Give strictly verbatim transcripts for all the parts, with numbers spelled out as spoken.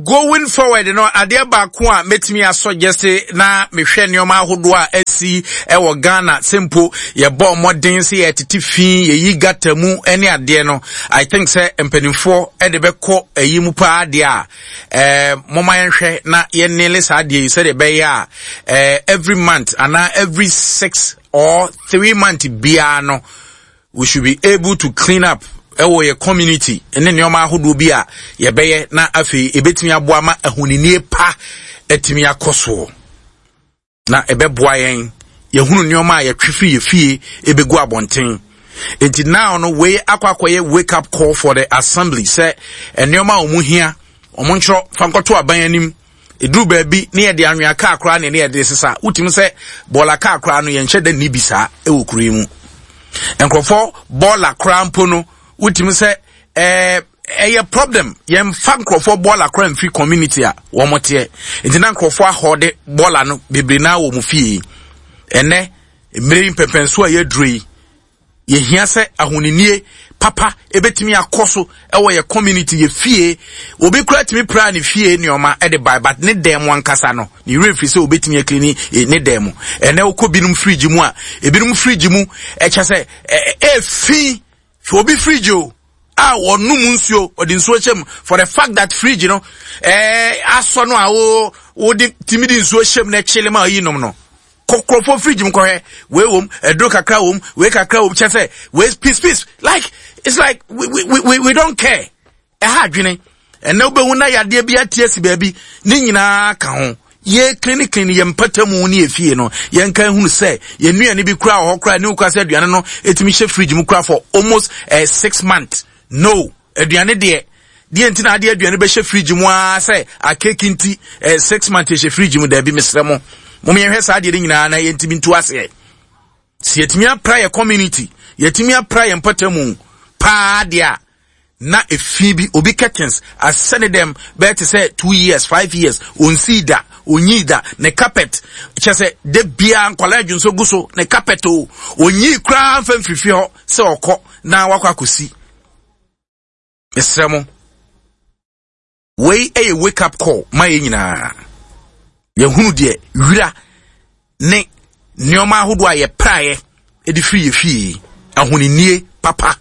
Going forward no, adeɛ baako a mɛtumi asɔ gyese na mehwɛ nneɛma ahodoɔ a asi ɛwɔ Ghana sɛ mpo yɛbɔ mmɔden sɛ yɛtete fi, yɛyi gutter mu ne adeɛ no, I think sɛ mpanimfoɔ ɛde bɛkɔ ayi mu paa deɛ a, ɛɛ moma yɛnhwɛ na yɛnele saa adeɛ yi sɛdeɛ ɛbɛyɛ a ɛɛ every month anaa every six or three month biara no, we should be able to clean up ɛwɔ yɛ community ne nneɛma ahodoɔ bi a yɛbɛyɛ, na afei ebɛtumi aboa ma ahoninie pa atumi akɔ soɔ, na ɛbɛboa yɛn yɛhunu nneɛma a yɛtwe firi yɛ fie ebɛgu abɔnten. Nti now no, wei akɔ akɔyɛ wake up call for the assembly sɛ nneɛma a wɔn hia, wɔn ntwerɛ fa nkɔto aban anim. Eduru baabi ne yɛde anwea kaa koraa ne ne yɛde sesa. Wotumi sɛ bɔɔla kaa koraa no, yɛnhyɛ da nni bi saa ɛwɔ kuro yi mu. Nkurɔfoɔ bɔɔla koraa mpo no, wotumi sɛ ɛɛ ɛyɛ problem. Yɛmfa nkurɔfoɔ bɔɔla koraa mfiri community a wɔn teɛ, nti na nkurɔfoɔ ahɔde bɔɔla no bebree naa wɔ mu fie. Ɛnɛ mmerɛ yi, mpɛmpɛnso a yɛaduro yi, yɛhia sɛ ahoninie papa ebetumi akɔ so ɛwɔ yɛ community, yɛ fie. Obi kura tumi pra ne fie nneɛma ɛde ba, but ne dan mu ankasa no, ne werɛ firi sɛ obetumi aclean ne dan mu. Ɛnɛ wokɔ binom fridge mu a, ebinom fridge mu ɛkyɛ sɛ ɛ ɛfi obi fridge o a wɔnum nsuo, ɔde nsuo hyɛ mu. For the fact that fridge no ɛɛ asɔ no a, wo wode timi de nsuo hyɛ mu na ɛkyele ma ɔyi nom no, kɔkɔrɔfo fridge mu kɔhwɛ, wei wɔm ɛduro kakra wɔm, wei kakra wɔm, kyɛ sɛ wei peace peace. Like it's like we we we we don't care. Ɛha adwene. Ɛnɛ wobɛhu na yadeɛ bi ate asi baabi ne nyinaa ka ho. Yɛ clean clean yɛ mpata mu ne yɛ fie no, yɛnka hunu sɛ yɛn nnuane bi kura wɔ hɔ kora ne wokura sɛ aduane no ɛtumi hyɛ fridge mu kura for almost uh, six months no. Aduane deɛ deɛ nti na adeɛ aduane bɛhyɛ fridge mu aa sɛ akeki nti eh, six months ɛhyɛ fridge mu? Daabi, mesrɛ mo, mom yɛhwɛ saa adeɛ no nyinaa na yɛntumi ntu aseɛ sɛ yɛtumi apra yɛ community, yɛtumi apra yɛ mpata mu paa deɛ a, na efi bi obi curtains asɛ ne dɛm bɛyɛ te sɛ two years, five years, onsii da, onyii da. Ne carpet kyɛ sɛ de bia nkwadaa adwonso gu so ne carpet o, onyii koraa mfa mfirifi hɔ sɛ ɔkɔ na wakɔ akɔsi. Mesrɛ mo, wei yɛ wake up call ma yɛn nyinaa. Yɛhunu deɛ wira ne nneɛma ahodoɔ a yɛpraeɛ de firi yɛ fie. Ahoninie papa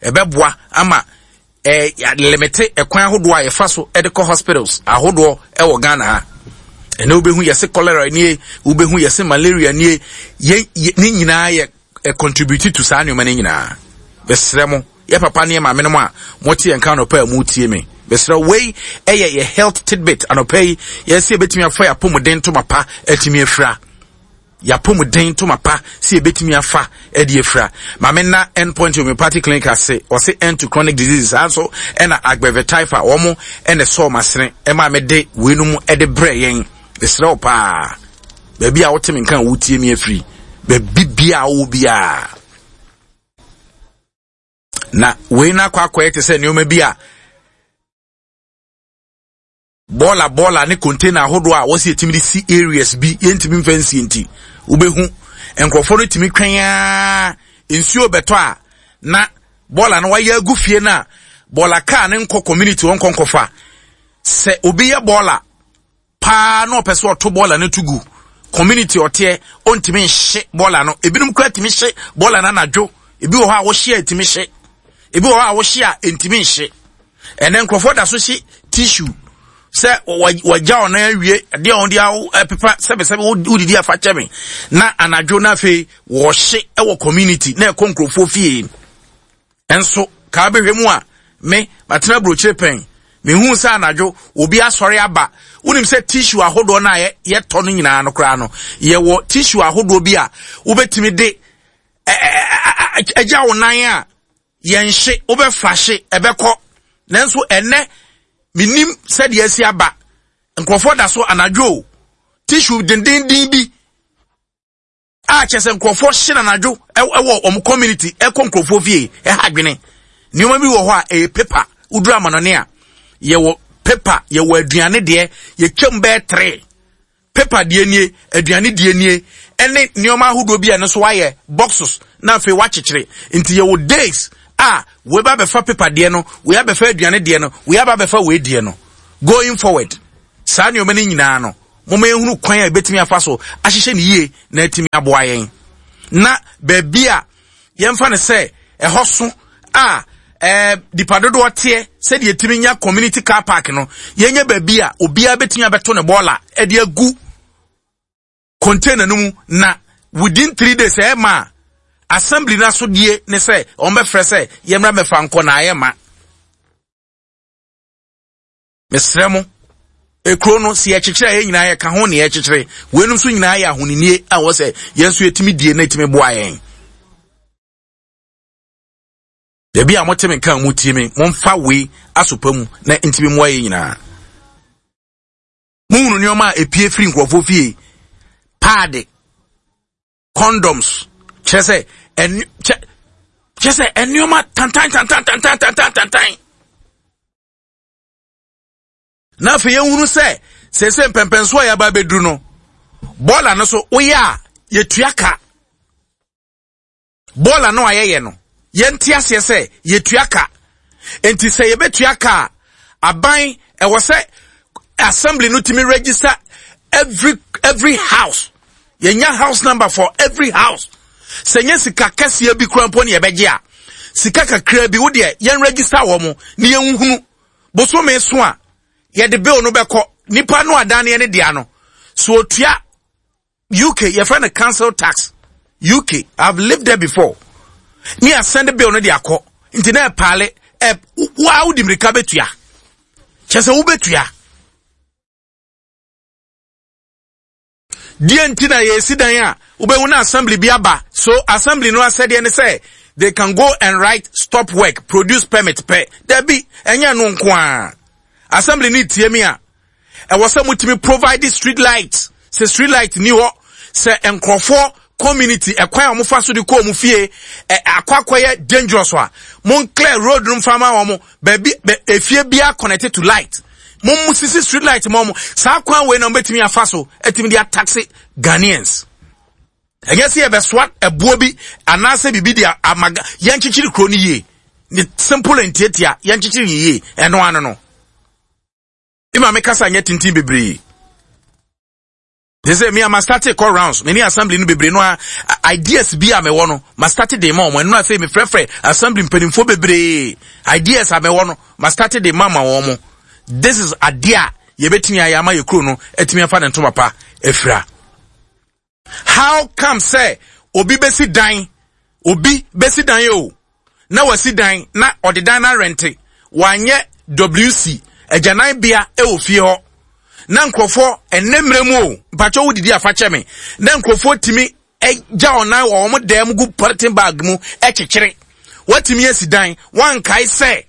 ɛbɛboa ama ɛɛ limit ɛkwan ahodoɔ a yɛfa so de kɔ hospitals ahodoɔ ɛwɔ Ghana ha. Ɛnna wobɛhu yɛse cholera nie, wobɛhu yɛse malaria nie. Yɛ ne nyinaa yɛ ɛ contribute to saa nneɛma no nyinaa. Bɛsrɛ mo, yɛ papa ne yɛ maame no mu a mote yɛn ka anɔpa a motie me, bɛsrɛ, wei ɛyɛ yɛ health tidbit anɔpa yi. Yɛsɛ yɛbɛtumi afa yɛ apɔmuden ntoma pa atumi afira, yɛapɔmuden ntoma pa sɛ yɛbɛtumi afa ɛde afira. Maame na Endpoint Homeopathic Clinic ase, ɔse end to chronic diseases. Saa nso ɛna Agbɛvɛ Taifa, wɔn ɛna ɛsɔɔ masene ɛma mede weinom ɛde brɛ yɛn. Mesrɛ wo paa, baabi a wote me nka a wotie me afiri, baabi bia a wowɔ biara na wei no akɔ akɔyɛ te sɛ nneɛma bi a bɔɔla bɔɔla ne container ahodoɔ a wɔsi yɛtumi de si areas bi, yɛntumi mfa nsie. Nti wobɛhu nkurɔfoɔ no tumi twɛn aa nsuo bɛtɔ a, na bɔɔla no wayɛ agu fie no a, bɔɔla kaa ne nkɔ community wɔn nkɔ nkɔfa. Sɛ obi yɛ bɔɔla paa na ɔpɛ sɛ ɔto bɔɔla no to gu community ɔteɛ, ɔntumi nhye bɔɔla no. Ebinom kura tumi hye bɔɔla no anadwo. Ebi wɔ hɔ a wɔhye a ɛtumi hye, ebi wɔ hɔ a wɔhye a ɛntumi nhye. Ɛnɛ nkurɔfoɔ da so hye tissue sɛ wɔgya ɔno awie adeɛ a wɔde apepa sɛbɛsɛbɛ wodidi afa kyɛ me na anadwo no, afei wɔhye wɔ community na ɛkɔ nkurɔfoɔ fie. Nso kaa bɛhwɛ mu a, me matena aburokyire pɛn, mehu sɛ anadwo obi asɔre aba. Wonim sɛ tissue ahodoɔ no a yɛtɔ no nyinaa no koraa no, yɛwɔ tissue ahodoɔ bi a wobɛtumi de agya wo nan a yɛnhye, wobɛflahye ɛbɛkɔ. Nanso ɛnɛ menim sɛdeɛ asi aba, nkurɔfoɔ da so anadwo tissue dendenden bi a kyerɛ sɛ nkurɔfoɔ hye no anadwo ɛwɔ wɔn community, ɛkɔ nkurɔfoɔ fie. Ɛha adwene. Nneɛma bi wɔ hɔ a ɛyɛ paper. Woduru amanɔne a, yɛwɔ paper, yɛwɔ aduane deɛ, yɛtwam bɛyɛ three. Paper deɛ nie, aduane deɛ nie, ɛne nneɛma ahodoɔ bi a ɛno nso wayɛ boxes na afei wakyekyere. Nti yɛwɔ days a wei ba bɛfa paper deɛ no, wei abɛfa aduane deɛ no, wei aba bɛfa wei deɛ no. Going forward, saa nneɛma no nyinaa no, momma yɛnhunu kwan a yɛbɛtumi afa so ahyehyɛ no yie na atumi aboa yɛn. Na baabi a yɛmfa no sɛ ɛhɔ so a ɛɛ nipa dodoɔ teɛ sɛdeɛ yɛtumi nya community car park no, yɛnyɛ baabi a obiara bɛtumi abɛto ne bɔɔla ɛde agu container no mu, na within three days ɛma a assembly no asodie ne sɛ wɔn bɛfrɛ sɛ yɛmmra mɛfa nkɔ na ayɛ ma. Mesrɛ mo, ekuro no si yɛkyekyere a yɛn nyinaa yɛka ho na yɛkyekyere. Weinom nso nyinaa yɛ ahoninie a wɔ sɛ yɛn nso yɛtumi die na yɛtumi boa yɛn. Baabi a mote me nka a motie me, momfa wei asopa mu na ntumi mmoa yɛn nyinaa. Mohunu nneɛma a epie firi nkurɔfoɔ fie, paade, condoms, kyerɛ sɛ ɛn kyɛ kyerɛ sɛ nneɛma tantan tantan tantan tantan tantan. Na afei yɛhunu sɛ sese mpɛmpɛnso a yɛaba abɛduru no, bɔɔla no so woyɛ a yɛtua ka. Bɔɔla no a yɛyɛ no, yɛnte aseɛ sɛ yɛtua ka. Nti sɛ yɛbɛtua ka a, aban ɛwɔ sɛ assembly no tumi register every every house. Yɛnya house number for every house. Sɛ nyɛ sika kɛseɛ bi kura mpo ne yɛbɛgye a, sika kakra bi wo deɛ yɛn register wɔ mo ne yɛnhunu. Bosome so a yɛde bill no bɛkɔ nipa no adaneɛ ne dea no so otua. U K yɛfrɛ no council tax. U K, I've lived there before. Ne asɛnde bill no de akɔ nti na ɛpaale ɛ waa wodi mirika bɛtua, kyɛ sɛ wobɛtua deɛ. Nti na yɛsi dan a wobɛhu na assembly bi aba so. Assembly no asɛdeɛ ne sɛ they can go and write "stop work", produce permit pɛ. Dabi, ɛnyɛ no nko a. Assembly ne tie mi a, ɛwɔ sɛ motumi provide street light. Sɛ street light ni hɔ sɛ nkurɔfoɔ community ɛkwan a wɔfa so de kɔ wɔn fie ɛ akɔ akɔyɛ dangerous a, mon clear road no nfa ma wɔn. Baabi bɛ efie biara connected to light, mo mo sisi street light ma wɔn. Saa kwan wei na wɔn bɛtumi afa so ɛtumi de atax Ghanaians. Ɛnyɛ sɛ yɛbɛsoa ɛboɔ bi anaasɛ biribi de ama. Yɛnkyekyere kuro no yie ne simple and tietia, yɛnkyekyere yie. Ɛno ano no ima me kasa nyɛ tenten bebree te sɛ me a ma start call rounds me ne assembly no bebree no a, ideas bi a mewɔ no, ma start de ma wɔn. Ɛno afei mefrɛfrɛ assembly mpanimfoɔ bebree. Ideas a mewɔ no, ma start de ma ma wɔn mo. This is adeɛ a yɛbɛtumi ayɛ ama yɛ kuro no atumi afa ne ntoma pa afira. How come sɛ obi bɛsi dan, obi bɛsi dan o, na wasi dan na ɔde dan na rent, wanyɛ W C agyananbea ɛwɔ fie hɔ, na nkurɔfoɔ ɛnɛ mmerɛ mu o, mpakyɛ wodidi afa kyɛ me, na nkurɔfoɔ tumi gya ɔnan wɔ wɔn dan mu gu polythene bag mu ɛkyekyere? Watumi asi dan, wankae sɛ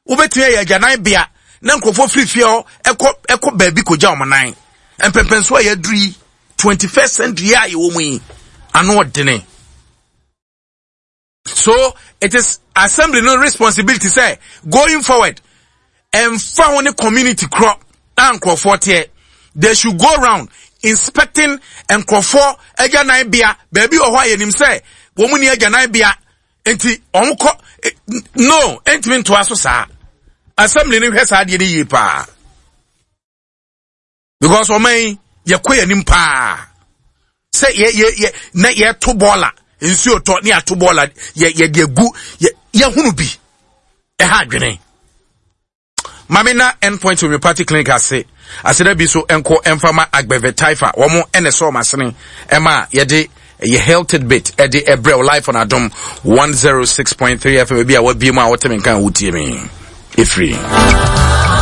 wobɛtumi ayɛ agyananbea na nkurɔfoɔ firi fie hɔ ɛkɔ ɛkɔ baabi kɔgya wɔn nan. Mpɛmpɛnso a yɛaduru yi, twenty first century a yɛwɔ mu yi, ano ɔdene. So it is assembly no responsibility sɛ going forward, ɛnfa ho ne community korɔ a nkurɔfoɔ teɛ, they should go round inspecting nkurɔfoɔ agyananbea. Baabi wɔ hɔ a yɛnim sɛ wɔn ni agyananbea nti wɔn kɔ no ntumi ntoa so saa. Assembly no hwɛ saa adeɛ no yie paa, because ɔman yi yɛkɔ yɛn anim paa sɛ yɛ yɛ yɛ na yɛto bɔɔla, nsuo tɔ ne yɛato bɔɔla, yɛ yɛde agu yɛ yɛhunu bi ɛha adwene. Maame na Endpoint Homeopathic Clinic ase aseda bi so nkɔ mfama Agbɛvɛ Taifa, wɔn ɛna ɛsɔ wɔn asene ɛma yɛde yɛ health tidbit ɛde ɛbrɛ live on Adom one zero six point three F M. Ebi a wabie mu a wɔte me nkan a wotie me efiri.